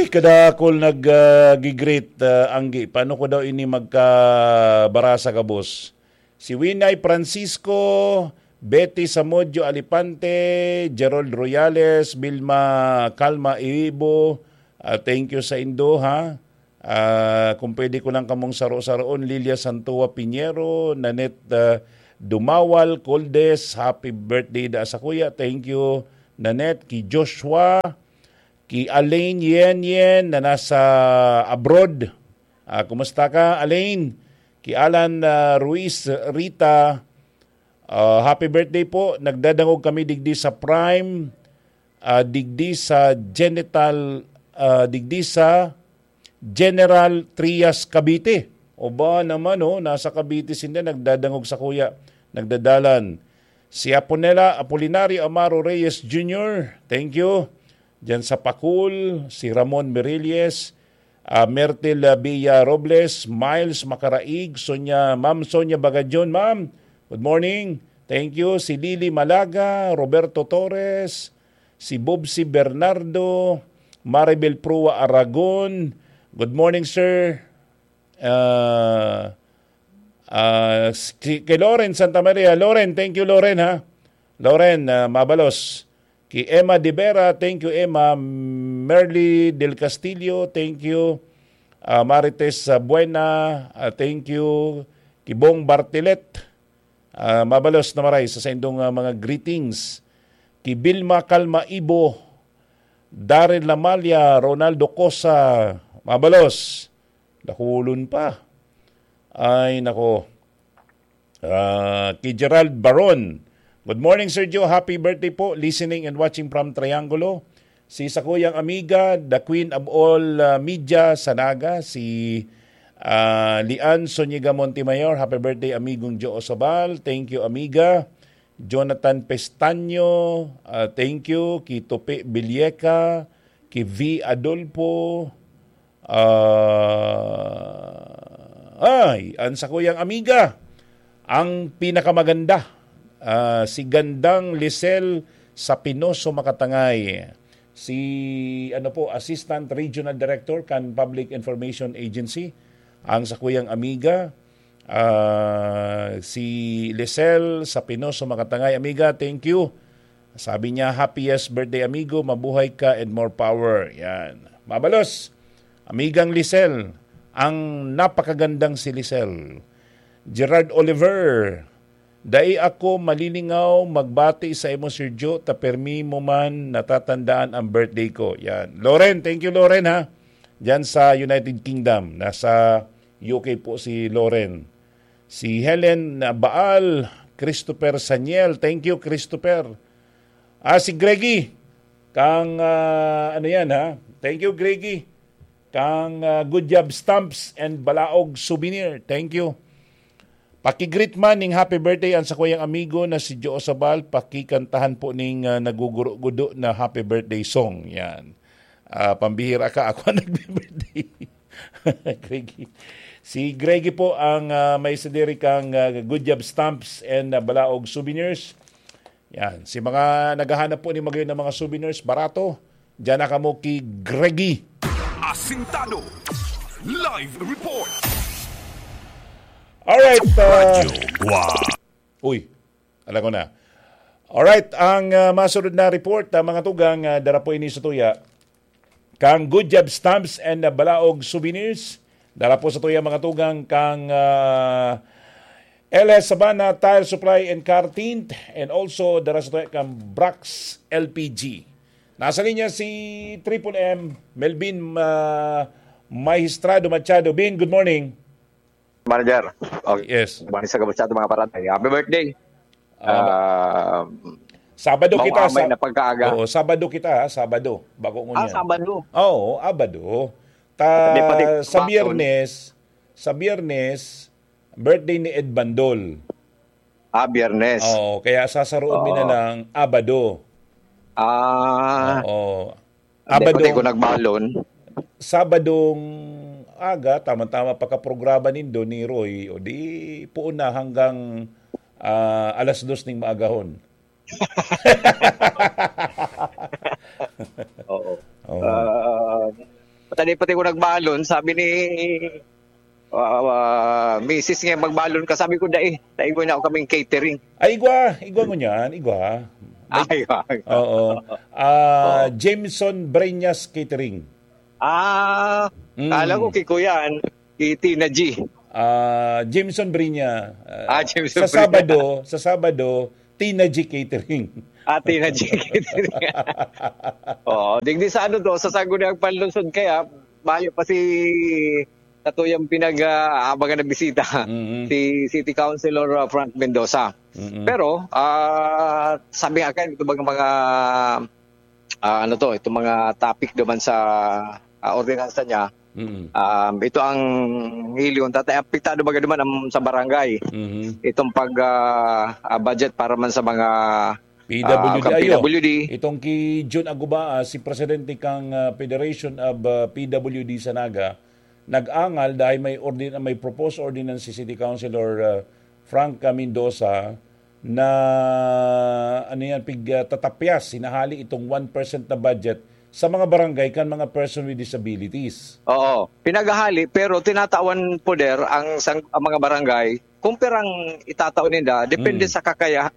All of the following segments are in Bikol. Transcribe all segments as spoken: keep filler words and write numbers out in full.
Kadakol nag, ah, gi-greet, ah, Anggi. Paano ko daw ini magkabarasa gabos? Si Winay Francisco, Betty Samudio Alipante, Gerald Royales, Vilma Calma Ibo, ah, thank you sa indo, ha? Ah, kung pwede ko lang kamong saro-saroon, Lilia Santua Piñero, Nanette, ah, Dumawal, Coldes, happy birthday da sa kuya. Thank you, Nanette. Ki Joshua, ki Alain Yen Yen na nasa abroad. Ah, kumusta ka, Alain? Ki Alan, ah, Ruiz Rita, ah, happy birthday po. Nagdadangog kami digdi sa Prime, ah, digdi sa Genital, ah, digdi sa General Trias, Cavite. O ba naman, oh, nasa Cavite sinda, nagdadangog sa kuya, nagdadalan. Si Aponela Apolinario Amaro Reyes Junior, thank you. Diyan sa Pakul, si Ramon Mirilles, ah, Mertil, ah, Villa Robles, Miles Macaraig, Sonia, Ma'am Sonia Bagadion, ma'am, good morning. Thank you. Si Lily Malaga, Roberto Torres, si Bobsy Bernardo, Maribel Prua Aragon. Good morning, sir. Ah, ah, si, kay Loren Santa Maria. Loren, thank you, Loren, ha? Loren, ah, Mabalos. Ki Emma De Vera, thank you, Emma. Merly Del Castillo, thank you. Ah, Marites, ah, Buena, ah, thank you. Ki Bong Bartilet, ah, Mabalos na maray sa saindong, ah, mga greetings. Ki Vilma Calma Ibo, Darren Lamalia, Ronaldo Cosa, Mabalos. Dakulon pa. Ay, nako. Ah, ki Gerald Baron. Good morning, Sir Joe. Happy birthday po. Listening and watching from Triangulo. Si sakuyang amiga, the queen of all, ah, media sa Naga, si, ah, Lian Zuniga Montemayor. Happy birthday, amigong Joe Osabal. Thank you, amiga. Jonathan Pestaño, ah, thank you. Ki Tope Villeca, ki V Adolfo, ah, ay, ang sakuyang amiga, ang pinakamaganda, ah, si Gandang Lisel Sapinoso Makatangay. Si, ano po, Assistant Regional Director kan Public Information Agency, ang sakuyang amiga, ah, si Lisel Sapinoso Makatangay. Amiga, thank you. Sabi niya, "Happiest birthday, amigo. Mabuhay ka and more power." Yan. Mabalos, amigang Lisel, ang napakagandang si Lisel. Gerard Oliver, "Dai ako malilingaw magbati sa imo, Sir Joe, ta permi mo man natatandaan ang birthday ko." Yan. Loren, thank you, Loren, ha? Diyan sa United Kingdom. Nasa U K po si Loren. Si Helen Baal, Christopher Saniel. Thank you, Christopher. Ah, si Greggy. Kang, ah, ano yan, ha? Thank you, Greggy. Kang, ah, Good Job Stamps and Balaog Souvenir. Thank you. Paki-greet man ning happy birthday an sakuyang amigo na si Joe Sabal. Pakikantahan po ning, ah, naguguro-gudo na happy birthday song. Yan. Ah, pambihira ka, ako ang nagbe-birthday. Greggy. Si Greggy po ang, ah, may sadiri kang, ah, Good Job Stamps and, ah, Balaog Souvenirs. Yan. Si mga naghahanap po ni magayon ng mga souvenirs, barato, diyan na kamo ki Greggy. Asintado. Live report. Alright, ah, Radyo Gwa. Uy, alam ko na. Alright, ang, ah, masunod na report, ah, mga tugang, ah, dara po ini sa tuya. Kang Good Job Stamps and, ah, Balaog Souvenirs, dara po sa tuya, mga tugang, kang, ah, L S Sabana Tire Supply and Car Tint, and also dara sa tuya kang Brax L P G. Nasa linya si Triple M, Melvin, ah, Magistrado Machado. Bin, good morning. Manager. Okay. Yes. Good morning sa gabos sa ating mga paratay. Happy birthday. Ah, Ah, Sabado kita, mahuamay sa na pagkaaga. Oo, Sabado kita, ha? Sabado. Bako Ah, ngunyan. Sabado. Oo, Abado. Ta-, May pati sa bakon. Biyernes, sa Biyernes, birthday ni Ed Bandol. Ah, Biyernes. Oo, kaya sasaroon mi na Oo. lang Abado. Ah. Oo. Hindi, Abado. Hindi ko nagbalon. Sabadong aga, tama-tama pagkaprograma nindo ni Roy, o di, puon na hanggang, ah, alas dos ning maagahon. Oo. Oo. Ah, Sa di pati ko nagbalon, sabi ni, ah, ah, misis niya, "Magbalon ka." Sabi ko, "Dai, dai ko na ako kaming catering." Ay, igwa, igwa mo niyan, igwa. May Ay, ay. Oo. Ah, Oo. Jameson Breñas Catering. Ah, Mm. kala ko kay Kuya, an-, kay Tina G. Ah, Jameson Breña, ah, Ah, Jameson sa Breña. Sabado, sa Sabado, Tina G Catering. Ah, Tina G Catering. Oo, digdi sa ano to, sa Sangguniang Panlungsod kaya, mayo pa si katuyang pinag, ah, abangan na bisita, Mm-mm. si City Councilor, ah, Frank Mendoza. Mm-mm. Pero, ah, sabi nga kayo, ito mga, mga, ah, ano to, itong mga topic naman sa, ah, ordinansa niya, Mm. um, ito ang milyon, tatay, apektado ba naman ang, sa barangay? Mhm. Itong pag, ah, ah, budget para man sa mga, P W D ah, kang ayo. P W D. Itong ki Jun Aguba, ah, si presidente kang, ah, Federation of, ah, P W D sa Naga, nag-angal dahil may ordin-, may proposed ordinance si City Councilor, ah, Frank Mendoza na, ano yan, pig, ah, tatapyas, hinahali itong one percent na budget sa mga barangay kan mga person with disabilities. Oo, pinaghahali, pero tinatawan poder ang sang-, ang mga barangay kung pirang itatao ninda, depende Mm. sa kakaya-,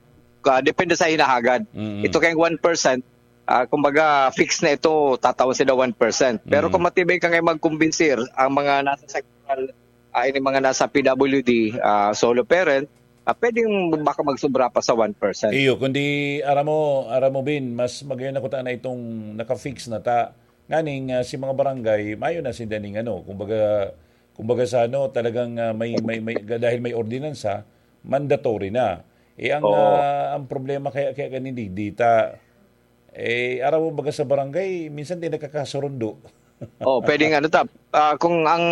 ah, depende sa hinahagad. Mm. Ito kayong one percent, ah, kumbaga, fix na ito, tatawan sila one percent. Pero Mm. kung matibay ka ngayon magkumbinsir, ang mga nasa sectoral, ah, ini mga nasa P W D, ah, solo parent, ah, pwedeng baka magsobra pa sa one percent. Iyo, kundi aram mo, aram mo, Bin, mas magayon ako ta na itong naka-fix na ta. Nganing, ah, si mga barangay, mayo na sinda ning ano, kumbaga, kumbaga sa ano, talagang, ah, may, may, may, dahil may ordinansa, mandatory na. Eh, ang, Oo. ah, ang problema kaya, kaya ganin di, di ta, eh, aram mo baga sa barangay, minsan di nagkakasurundo. Oh, pwedeng ano ta, ah, kung ang,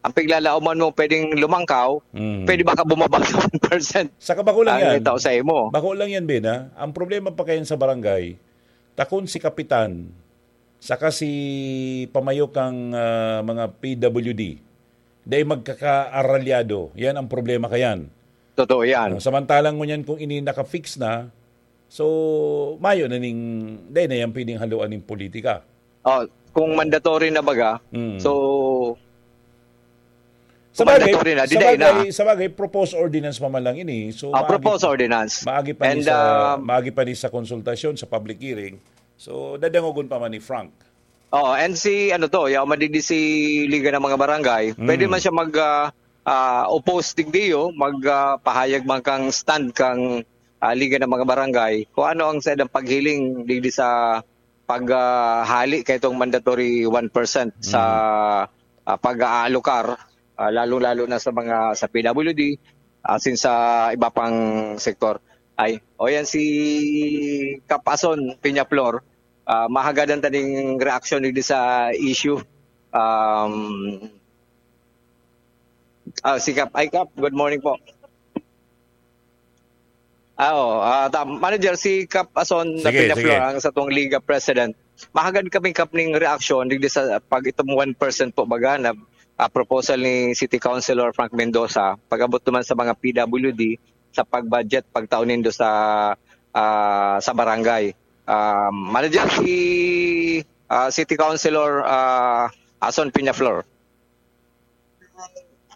ang piglalaoman mo pwedeng lumangkaw, Mm. pwede baka bumaba sa one percent Saka bako lang ang yan. itao sa imo. Bako lang yan, Ben, ha? Ang problema pa kayan sa barangay, takon si kapitan, saka si pamayo kang, ah, mga P W D, dahil magkakaaralyado. Yan ang problema kayan. Totoo yan. Ah, samantalang ngunyan kung ini naka-fix na, so, mayo na ning, dahil na yan pwedeng haluan ning politika. Oh, kung mandatory na baga, Mm. so, Sa kung bagay, mandatory na, di sa dahil na. bagay, sa bagay, proposed ordinance pa man lang ini. So, Ah, maagi proposed pa, ordinance. maagi pa ni And, sa, um, maagi pa ni sa konsultasyon, sa public hearing. So, dadangogon pa man ni Frank. Oo, and si, ano to, yaw madidi si Liga ng mga Barangay, Mm. pwede man siya mag, ah, ah, oppose digdiyo, mag, ah, pahayag man kang stand kang, ah, Liga ng mga Barangay, kung ano ang sa ilang paghiling digdi sa pag, ah, hali kaitong mandatory one percent sa, Mm. ah, pag-aalokar, ah, lalong-lalo na sa mga, sa P W D, asin sa iba pang sektor. Ay, o yan si Kap Ason Peñaflor, ah, mahagadan ta ning reaksyon digdi sa issue. Um, ah, si Kap, ay, Kap, good morning po. Ah, oo. Ah, ta-, manager, si Kap Ason na Sige, Peñaflor, sige. ang satong Liga President. Mahagad kami, Kap, ning reaksyon digdi sa pag itong one percent po baga na, ah, proposal ni City Councilor Frank Mendoza, pag-abot naman sa mga P W D, sa pag-budget, pagtao nindo sa, ah, sa barangay. Ah, manager, si, ah, City Councilor, ah, Ason Peñaflor.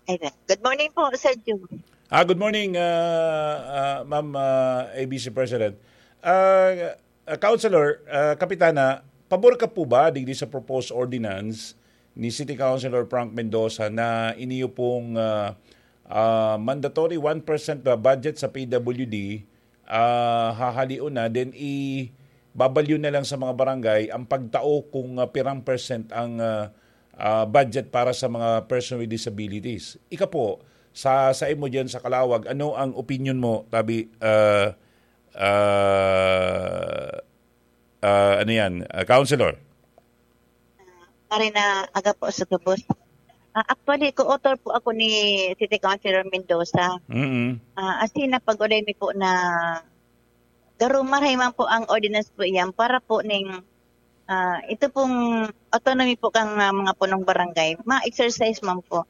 Ay, good morning po, Sir Jun. Ah, good morning, ah, ah, Ma'am, ah, A B C President. Ah, ah, Councilor, ah, Kapitana, pabor ka po ba digdi sa proposed ordinance ni City Councilor Frank Mendoza na iniyo pong, ah, ah, mandatory one percent na budget sa P W D, ah, hahalion na, then ibabalyo na lang sa mga barangay ang pagtao kung, ah, pirang percent ang, ah, ah, budget para sa mga person with disabilities. Ika po, sa, sa imo diyan sa Calauag, ano ang opinion mo, tabi, ah, ah, ah, ano yan, ah, Councilor? Ah, pare na aga po sa gabos. Ah, actually, co-author po ako ni City Councilor Mendoza. Mm. Ah, as in, napag-ulay mi po na garo marahay man po ang ordinance po iyan para po ning, ah, ito pong autonomy po kang, ah, mga punong barangay, ma-exercise man po.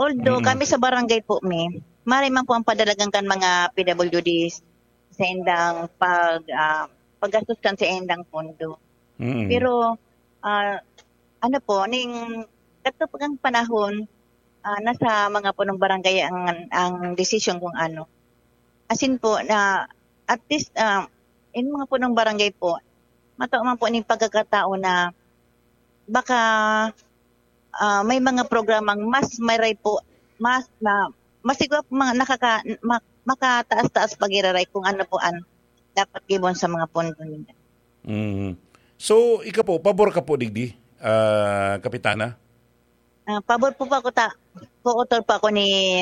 Although Mm. kami sa barangay po mi, marahay man po ang padalagan kan mga P W Ds sa indang pag, ah, paggastos kan sa indang pondo. Mm. Pero, ah, Ano po, ning kadto pong panahon, ah, nasa mga punong barangay ang, ang desisyon kung ano. Asin po na at least, ah, in mga punong barangay po, matao man po ning pagkakataon na baka, ah, may mga programang mas maray po, mas na, mas siguro mga nakaka-, ma-, makataas-taas pag-iraray kung ano po ang dapat gibon sa mga pondo nila. Mm. So, ika po, pabor ka po digdi, ah, Kapitana? Ah, pabor po, po ako ta-, po, author po ako ni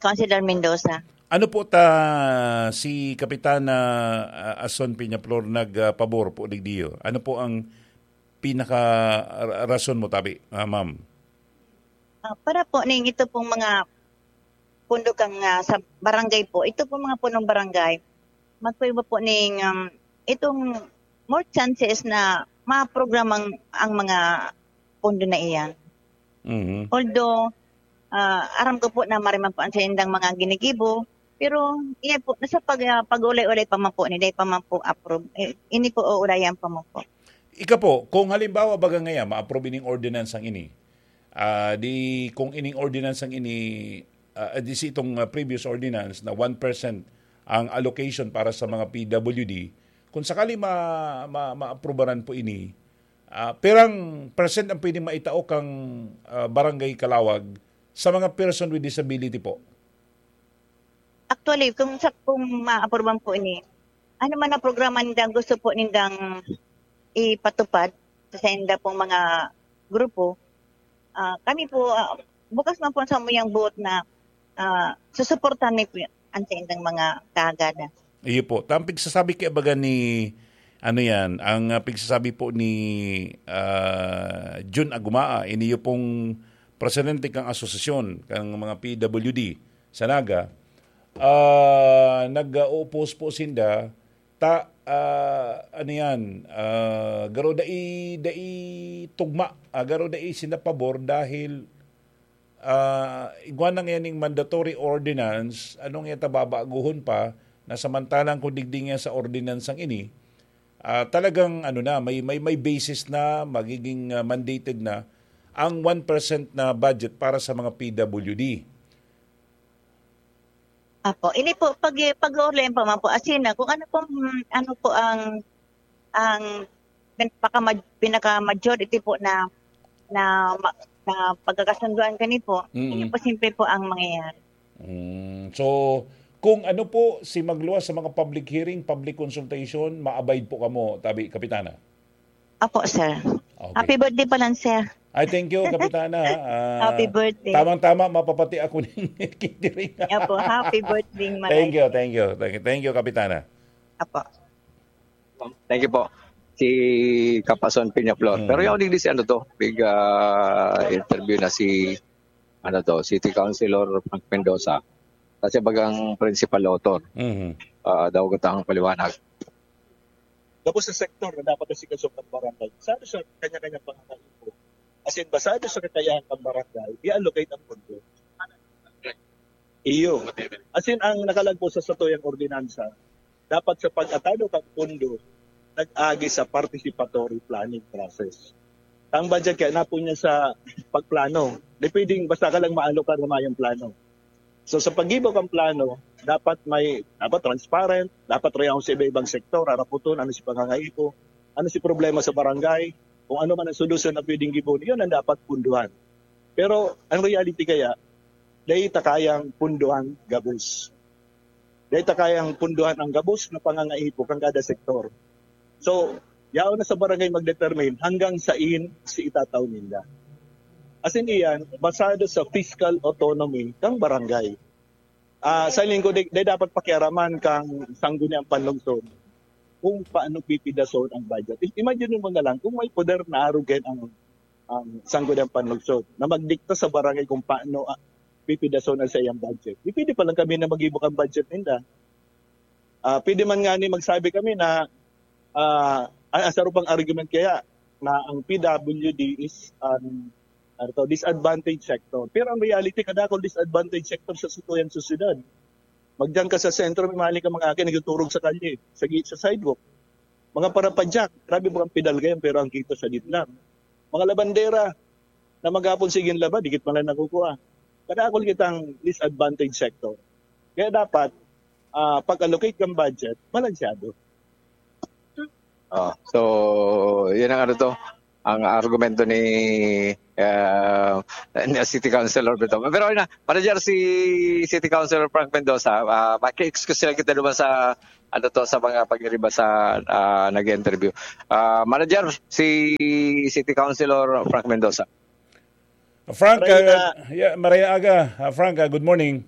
Councilor Mendoza. Ano po ta si Kapitana, ah, Ason Peñaflor nagpabor po digdiyo? Ano po ang pinaka ra-, rason mo tabi, ah, ma'am? Ah, para po ning ito pong mga pundo kang, ah, sa barangay po, ito pong mga punong barangay, magpaiba po ning, um, itong more chances na maprogramang ang mga pundo na iyan. Mhm. Although, ah, aram ko po na mariman po ang saindang mga ginigibo, pero iyan po, nasa pag-, ah, pag-ulay-ulay pa man po, niday pa man po approve. Eh, ini po, uulayan pa man po. Ika po, kung halimbawa baga ngaya, ma-approve ining ordinance ang ini, ah, di kung ining ordinance ang ini, ah, di si itong, ah, previous ordinance na one percent ang allocation para sa mga P W D, kung sakali ma-, ma-, maaprubaran po ini, ah, perang percent ang pwedeng maitao kang, ah, barangay Calawag sa mga person with disability po? Actually, kung sa, kung maaprubahan po ini, ano man ang programa nindang gusto po nindang ipatupad sa sainda pong mga grupo, ah, kami po, ah, bukas man po sa muyang buot na, ah, susuportahan mi po ang saindang mga kahagadan. Iyo po. Ang pigsasabi kaya baga ni, ano yan, ang, ah, pigsasabi po ni, ah, Jun Agumaa, iniyo pong presidente kang asosasyon, kang mga P W D sa Naga, ah, nag-oppose po sinda, ta, ah, ano yan, ah, garo dai, dai tugma, ah, garo dai sinda pabor dahil, ah, igwa na ngayon ning mandatory ordinance, anong ita babaguhon pa, na samantalang kung digdi nga sa ordinance ang ini, ah, talagang ano na, may, may, may basis na, magiging, ah, mandated na ang one percent na budget para sa mga P W D. Apo, ini po, pag, pag-uulayan pa man po, as in, ah, kung ano pong, ano po ang, ang pin-, pakama-, pinaka-majority po na, na ma-, na pagkakasunduan kani po, Mm. ini po simple po ang mangyayari. Mm. So, kung ano po si magluwas sa mga public hearing, public consultation, ma-abide po kamo, tabi, Kapitana? Apo, sir. Okay. Happy birthday pa lang, sir. Ay, thank you, Kapitana. Ah, Happy birthday. Tamang-tama, mapapati ako ng catering. Apo, happy birthday, Maray. Thank you, thank you, thank you, thank you, Kapitana. Apo. Thank you po. Si Kapason Peñaflor. Mm. Pero yaw digdi si ano to, big, ah, interview na si, ano to, City Councilor Frank Mendoza. Kasi bagang principal author. Mhm. Ah, daw gatang paliwanag. Gabos sa sektor na dapat asikasuhan ng barangay. Sa, sa kanya-kanyang pangangaipo. As in, basado sa kakayahan ng barangay, i-allocate ang pondo. Iyo. As in, ang nakalagpo sa satuyang ordinansa, dapat sa pag-atado kang pondo, nag-agi sa participatory planning process. Ang budget kaya napon niya sa pagplano. Di pwedeng basta ka lang maalokar na mayong plano. So, sa paggibo kang plano, dapat may, dapat transparent, dapat reason sa iba-ibang sektor, haraputon, ano si pangangaipo, ano si problema sa barangay, kung ano man ang solusyon na pwedeng gibon, yun ang dapat punduhan. Pero ang reality kaya, dahil ta kayang punduhan gabos. Dahil ta kayang punduhan ang gabos na pangangaipo kang kada sektor. So, yaon na sa barangay mag-determine hanggang sain si itatao ninda. As in iyan, basado sa fiscal autonomy kang barangay. Ah, sa lingkod, di, di dapat pakiaraman kang sangguniang panlungsod kung paano pipidason ang budget. I-, imagine mo na lang kung may poder na arugen ang, ang sangguniang panlungsod na magdikta sa barangay kung paano, ah, pipidason ang sa iyang budget. Di pwede pa lang kami na mag-ibok ang budget ninda. Ah, pwede man nga ni magsabi kami na, ah, ang, ang sarong pang argument kaya na ang P W D is an, ano to, disadvantaged sector. Pero ang reality, kadakol disadvantaged sector sa satuyang sosyedad. Magdiyan ka sa sentro, may maling ka mga akin, nagtuturog sa kalye, sa gi-, sa sidewalk. Mga parapadyak, grabe, mga pedal kayan, pero ang kita sa gitna. Mga labandera na maghapon sige laba, dikit man lang nakukuha. Kadakol kitang disadvantaged sector. Kaya dapat, ah, pag-allocate kang budget, balansyado. Oh, so, yun ang ano to, ang argumento ni ah, ni City Councilor Brito. Pero na, manager si City Councilor Frank Mendoza, ah, maki-excuse lang kita naman sa ano to sa mga pagiriba sa ah, nag-interview. Ah, manager si City Councilor Frank Mendoza. Frank, Maray na. Ah, yeah, maray aga. Ah, Frank, ah, good morning.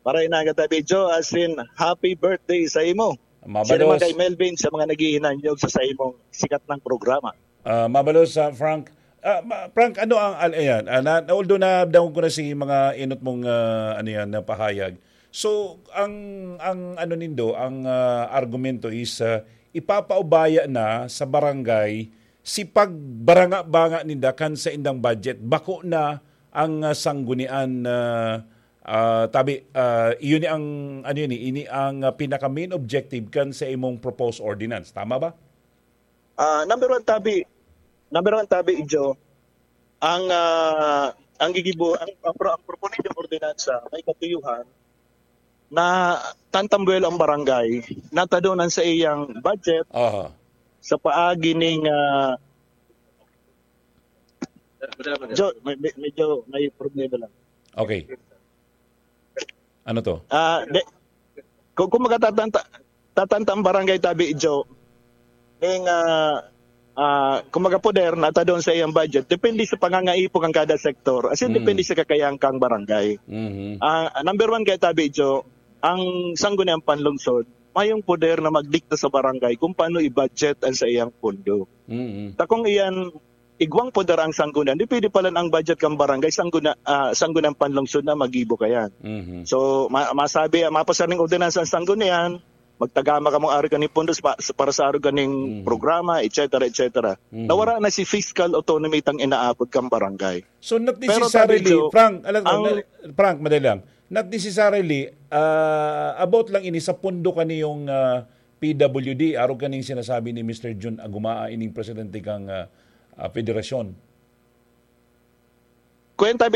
Maray na kita, Bidyo, as in, happy birthday sa imo. Mabalos. Sino man kay Melvin sa mga naghihinanyog sa, sa imong sikat ng programa. Ah, mabalos sa Frank. Ah, ma- Frank, ano ang al- ayan, ah, na, although nadangog ko na si mga inot mong ah, ano yan, na pahayag. So, ang ang ano nindo, ang ah, argumento is ah, ipapaubaya na sa barangay si pagbaranga-banga ninda kan sa indang budget. Bako na ang ah, sanggunian na ah, tabi, ah, iyon ni ang ano yun, eh, ini ang ah, pinaka main objective kan sa imong proposed ordinance. Tama ba? Ah, number one, tabi, number one, tabi, Ijo, ang ah, ang gigibo, ang, ang, pro- ang proponen yung ordinansa, may katuyuhan na tantambuelo ang barangay, natadonan sa iyang budget Aha. sa paagi ning ah, Jo, may, may- medyo may problema lang. Okay. Ano to? Ah, de, kung, kung magtatanta, tatanta ang barangay tabi, Jo, ning ah, ah, kung magapoder, natadon sa iyang budget, depende sa pangangaipo kang kada sektor. As in, Mm. depende sa kakayahan kang barangay. Mhm. Ah, number one kaya tabi, Jo, ang sangguniang panlungsod, mayong poder na magdikta sa barangay kung paano i-budget ang sa iyang pondo. Mhm. Ta kung iyan igwang poder ang sanggunian, di pwede pala ang budget kang barangay, sangguna, ah, sangguniang panlungsod na magibo kayan. Mhm. So, ma- masabi, mapasar ning ordinansa ang sanggunian, magtagama ka mong ari kaning pundos pa, para sa aro kaning Mhm. programa, et cetera, et cetera. Mhm. Nawara na si fiscal autonomy tang inaapod kang barangay. So not Pero necessarily, tabi, Jo, Frank, alam, ang- Frank, madali lang. Not necessarily, ah, about lang ini sa pondo kaniyong ah, P W D, arog kaning sinasabi ni Mister Jun Agumaa, ining presidente kang ah, ah, federasyon. Kuwenta,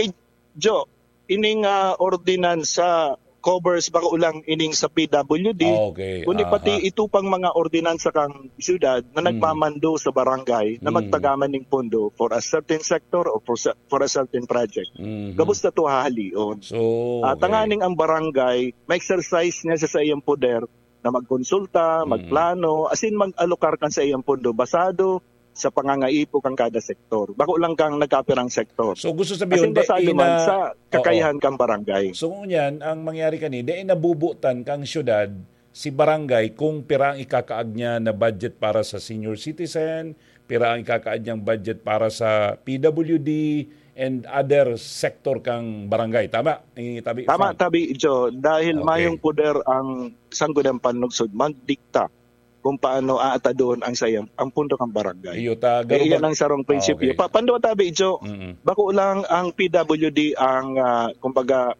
Jo, ining ah, ordinansa covers bako lang ining sa P W D, Ah, okay. kundi pati Aha. ito pang mga ordinansa kang syudad na Mm. nagmamando sa barangay na Mm. magtagaman ning pondo for a certain sector or for, sa- for a certain project. Mhm. Gabos na to hahalion. So, Ah, okay. tanganing ang barangay, ma-exercise niya sa, sa iyang poder na magkonsulta, Mm. magplano, as in mag-alokar kan sa iyang pondo basado sa pangangaipo kan kada sektor. Bako lang kang nagkapirang sektor. So gusto As sabihin, in basado di man ina- sa kakayahan Oo. kang barangay. So ngunyan, ang mangyari kani, di nabubutan kang syudad si barangay kung pira ang ikakaag niya na budget para sa senior citizen, pira ang ikakaag niyang budget para sa P W D and other sector kang barangay. Tama? Eh, tabi, Tama, Frank? tabi, Jo. Dahil Okay. mayong poder ang sangguniang panlungsod magdikta kung paano aatadon ang sayang ang pondo kang barangay. Iyo, ta, Kaya yan Garuba- ang sarong prinsipyo. Okay. Pa, pandua tabi, Jo, Mm-mm. bako lang ang P W D ang, ah, kumbaga,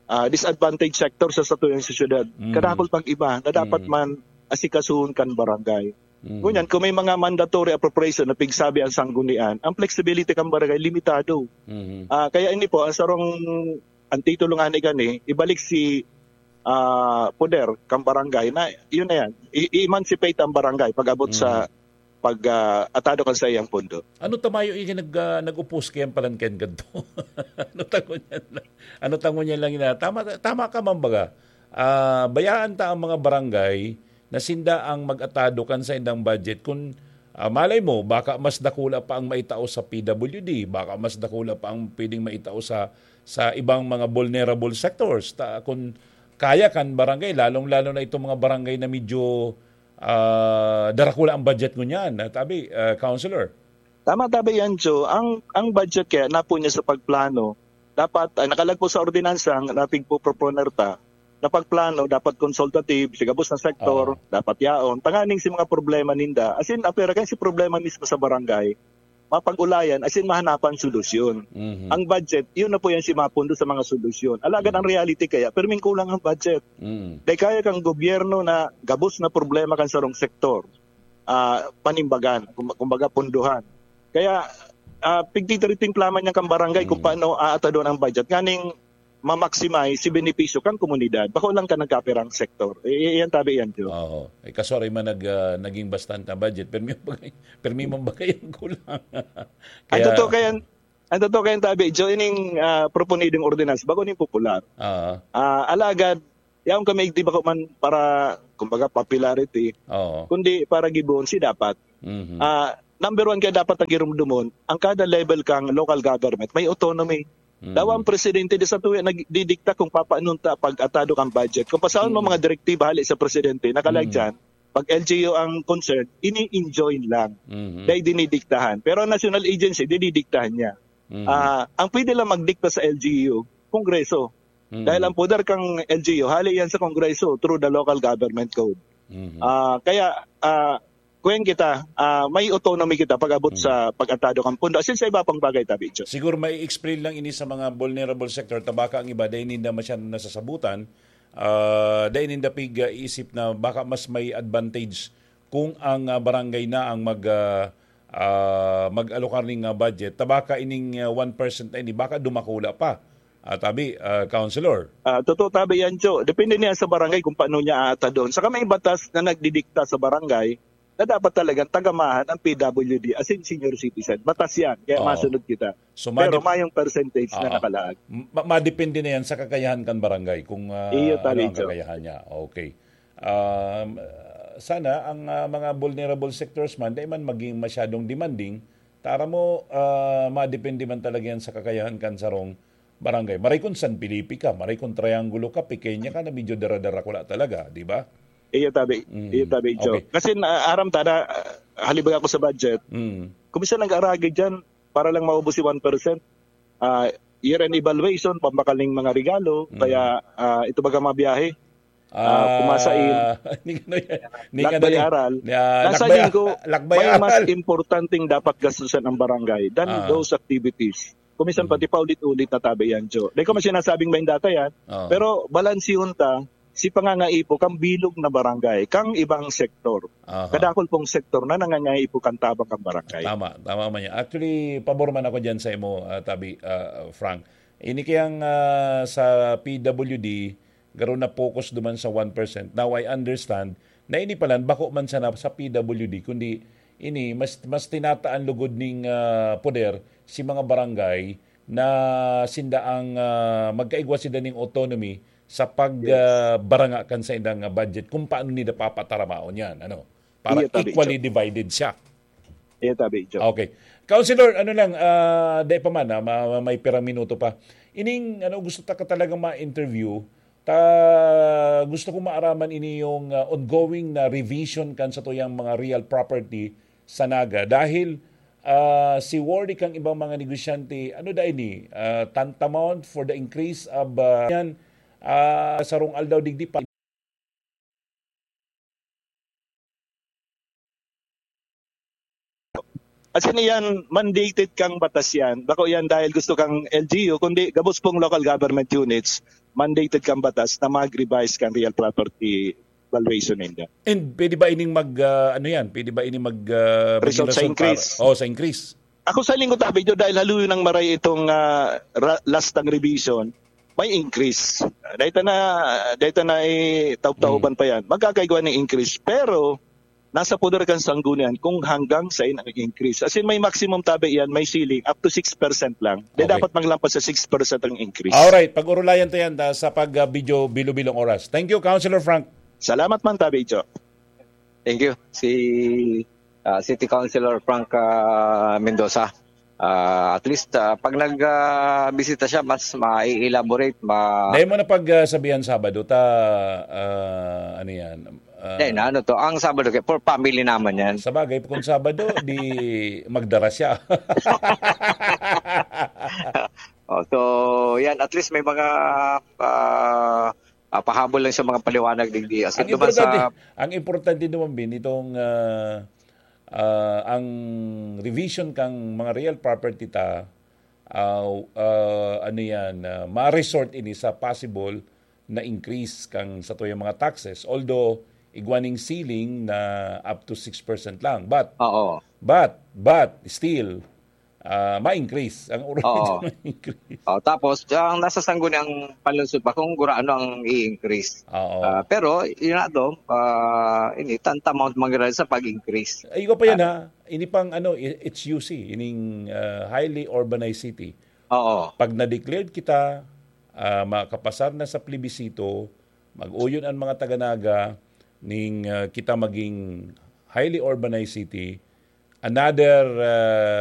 ah, disadvantaged sector sa satuyang sosyedad. Mm. Kadakol pang iba na dapat Mm. man asikasuhon kan barangay. Mm. Ngunyan, kung may mga mandatory appropriation na pigsabi ang sanggunian, ang flexibility kan barangay limitado. Mhm. Ah, kaya ini po, ang sarong, ang titulo nga ni gani, ibalik si ah, poder kan barangay na yun na yan. I- i-emancipate ang barangay pag-abot sa Mhm. pag ah, atado kan sa iyang pondo. Ano tamayo yung nag, ah, nag-upos kayang palangken ganito? Ano tango niya lang? Ano tango niya lang yun? Tama, tama ka man baga. Ah, bayaan ta ang mga barangay na sinda ang mag-atado kan sa indang budget. Kung ah, malay mo, baka mas dakula pa ang maitao sa P W D, baka mas dakula pa ang pwedeng maitao sa sa ibang mga vulnerable sectors. Ta, kung kaya kan barangay, lalong-lalo na itong mga barangay na medyo ah, darakula ang budget ngunyan, ah, tabi, ah, Councilor. Tama, tabi yan, Joe. Ang, ang budget kaya napo niya sa pagplano, dapat, ay, nakalagpo sa ordinansa ang napigpo-proponer ta, na pagplano, dapat consultative, sigabos na sektor, Oo. dapat yaon. Tanganing si mga problema ninda, as in, apera kayo si problema mismo sa barangay, mapag-ulayan, as in, mahanapan solusyon. Mhm. Ang budget, yun na po yan si mapundo sa mga solusyon. Alagad ang reality kaya, perming kulang ang budget. Mhm. Dahil kaya kang gobyerno na gabos na problema kan sarong sektor, ah, panimbagan, kum- kumbaga punduhan. Kaya Ah, pigtitritimplaman niya kan barangay kung Mm. paano aatadon ang budget nganing ma-maximize si benepisyo kan komunidad. Bako lang ka nagkapirang sektor. Eh, eh, yan tabi yan, Jo. Oo. Eh, kaso aray man nag-, ah, naging bastante ang budget. Permi man bagay, permi man bagay ang kulang. Ang Kaya totoo kayan, ang totoo kayan tabi, Jo, ining, ah, proponidong ordinance, bako ning popular. Oo. Ah, alagad, yaon kami, di bako man para, kumbaga, popularity, Oo. kundi para gibohon si dapat. Mhm. Ah, number one kaya dapat ang girumdumon, ang kada level kang local government may autonomy. Mhm. Dawa ang presidente di sa tuwi nagdidikta kung papaanong ta pag-atado kang budget. Kung pasahon mo Mhm. mga direktiba hali sa presidente, nakalag Mhm. dyan, pag L G U ang concern, ini-enjoin lang. Mhm. Dahil dinidiktahan. Pero ang national agency, dinidiktahan niya. Mhm. Ah, ang pwede lang magdikta sa L G U, Kongreso. Mhm. Dahil ang poder kang L G U, hali yan sa Kongreso through the local government code. Mhm. Ah, kaya, ah, kuyan kita, ah, may autonomy kita pag-abot Mhm. sa pag-atado kang pondo. Asin sa iba pang bagay, tabi, Jo. Siguro may explain lang ini sa mga vulnerable sector, tabaka ang iba, dahil ninda masyadong nasasabutan, ah, dahil ninda pig-, ah, isip na baka mas may advantage kung ang, ah, barangay na ang mag, ah, ah, mag-alokar ning, ah, budget. Tabaka ining, ah, one percent na ini, baka dumakula pa. Ah, tabi, ah, Councilor. Ah, totoo, tabi yan, Jo. Depende niya sa barangay kung paano niya aatadon. Saka may batas na nagdidikta sa barangay na dapat talagang tagamahan ang P W D, as in senior citizen. Batas yan, kaya Oo. masunod kita. So, Pero madep-, mayong percentage na Oo. nakalaag. Ma-, madepende na yan sa kakayahan kan barangay kung, ah, Iyo, ano tabi, ang Jo. kakayahan niya. Okay. Um, sana ang, ah, mga vulnerable sectors man, di man maging masyadong demanding, tara mo, ah, madepende man talaga yan sa kakayahan kan sarong barangay. Maray kung San Felipe ka, maray kung Triangulo ka, Pequeña ka na medyo dara-dara ko la talaga, di ba? Iyo tabi, Mm. iyo tabi, Jo. Okay. Kasi na, aram ta na, ah, halibag ako sa budget, Mm. kung minsan nag-aragid dyan, para lang maubos si one percent, ah, year-end evaluation, pambakal ning mga regalo, Mm. kaya, ah, ito baga mga biyahe, ah, Ah, pumasain, hindi ka na yan. Hindi ka na lakbay yan. aral. Ah, Nasa lakbay tingin ko, a-, lakbay may mas aral. importanteng dapat gastusan ang barangay than Ah. those activities. Kung minsan Mm. pati paulit-ulit na tabi yan, Jo. Dahil ko man sinasabing may data yan, Ah. pero balansihon ta si pangangaipo kang bilog na barangay, kang ibang sektor. Aha. Kadakol pong sektor na nangangaipo kan tabang kan barangay. Tama, tama man yan. Actually, pabor man ako dyan sa imo, ah, tabi, ah, Frank. Ini kayang, ah, sa P W D, garo na focus duman sa one percent. Now, I understand na ini palan, bako man sana sa P W D, kundi ini, mas, mas tinataan lugod ning, ah, poder si mga barangay na sinda ang, ah, magkaigwa sinda ning autonomy sa pag, Yes. ah, baranga kan saindang, ah, budget, kung paano nila papataramaon yan, ano? Para Iya, tabi, equally Joe. divided siya. Iya, tabi, Joe. Okay. Councilor, ano lang, ah, di pa man, ah, ma-, ma-, may pirang minuto pa. Ining, ano, gusto ta ka talagang ma-interview, ta-, gusto ko maaraman ini yung, ah, ongoing na revision kan satuyang mga real property sa Naga. Dahil, ah, si worry kang ibang mga negosyante, ano da ini? Ah, tantamount for the increase of, ah, yan, ah, sarong aldaw digdi pa. As in, iyan, mandated kang batas yan. Bako yan dahil gusto kang L G U, kundi gabos pong local government units, mandated kang batas na mag-revise kang real property valuation ninda. And pwede ba ining mag, ah, ano yan? Pwede ba ining mag, ah, maging Result sa rason increase. para, oh, sa increase? Ako sa lingkod, tabi nyo, dahil haluyo ng maray itong, ah, ra-, last ng revision, may increase. Dahil na, dahil na itaub-tauban Mm. pa yan. Magkakaigwa ng increase. Pero, nasa poder kan sanggunian kung hanggang saan ang increase. As in, may maximum tabi yan, may ceiling, up to six percent lang. Di Okay. dapat maglampas sa six percent ang increase. Alright, pag-urulayan ta yan, ah, sa pag, ah, video bilo-bilong oras. Thank you, Councilor Frank. Salamat man, tabi, Joe. Thank you. Si, ah, City Councilor Frank, ah, Mendoza. Ah, at least, ah, pag nag, ah, bisita siya, mas mai-elaborate, ma- Dahil mo na pag, ah, sabihan Sabado, ta, ah, ano yan? Ah, Hindi, na ano to, ang Sabado, kaya for family naman yan. Sa bagay, kung Sabado, di magdara siya. Oh, so, yan, at least may mga, ah, ah, pahabol lang sa mga paliwanag, digdi. As in, Ang duman sa importante, ang importante naman, Bin, itong, ah, ah, ang revision kang mga real property ta, ah, ah, ano yan, ah, ma-resort ini sa possible na increase kang satuyang mga taxes. Although, igwa ning ceiling na up to six percent lang. But, Oo. but, but, still, ah, ma-increase. Ang urban Oo. ma-increase. Oh, tapos, ang nasa sangguniang panlungsod pa kung gurano ang i-increase. Oo. Ah, pero, yun na to, ah, ini, tanta mo mangyari sa pag-increase. Ay, ko pa yan ha. Ini pang ano, i- H U C, ining ah, highly urbanized city. Oo. Pag na-declared kita, ah, makapasar na sa plebisito, mag-uyon ang mga taga-Naga ning ah, kita maging highly urbanized city, another ah,